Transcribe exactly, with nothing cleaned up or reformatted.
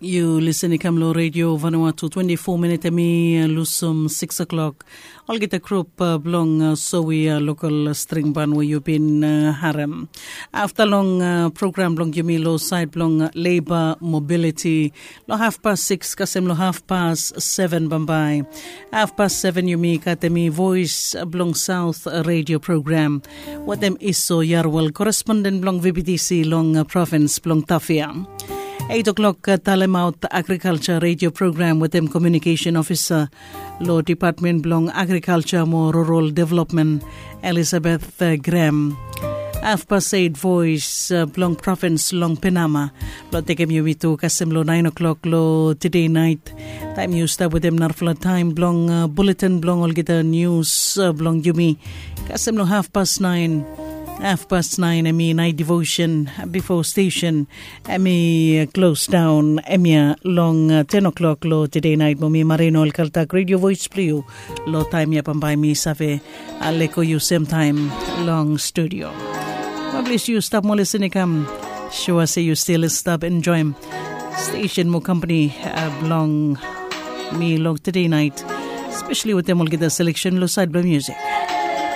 Yu lisen i kam long redio Vanuatu, twenti fo minit em i lusim sikis o'klok. Olgeta grup blong sowi lokal stringban we yu bin harem afta long program blong yumi long sait blong leba mobiliti long hafpas sikis kasem long hafpas seven bambae. Hafpas seven yumi gat em i voes blong saut redio program wetem iso yarwel koresponden blong vbtc long provins blong tafia. Eit o'klok talemaot agrikalsa redio program wetem komiunikesen ofisa long dipatmen blong agrikalsa mo rural developmen, elisabeth grem. Hafpas eit voes blong provins long penama blong tekem yumi tu kasem long naen o'klok long tede nait, taem yu stap wetem narafala taem blong buletin blong olgeta nius blong yumi kasem long hafpas naen. Hafpas naen em i nait devosen bifo stesen em i klos daon em ya long ten o'klok long tede nait mo mi marino el kaltak redio voes blong yu. Long taem ya bambae mi save leko yu semtaem long studio. Mo plis yu stap mo lisen i kam. Sua se yu stil stap enjoem stesen mo kampani blong mi long tede nait, spesali wetem olgeta seleksen long sait blong musik.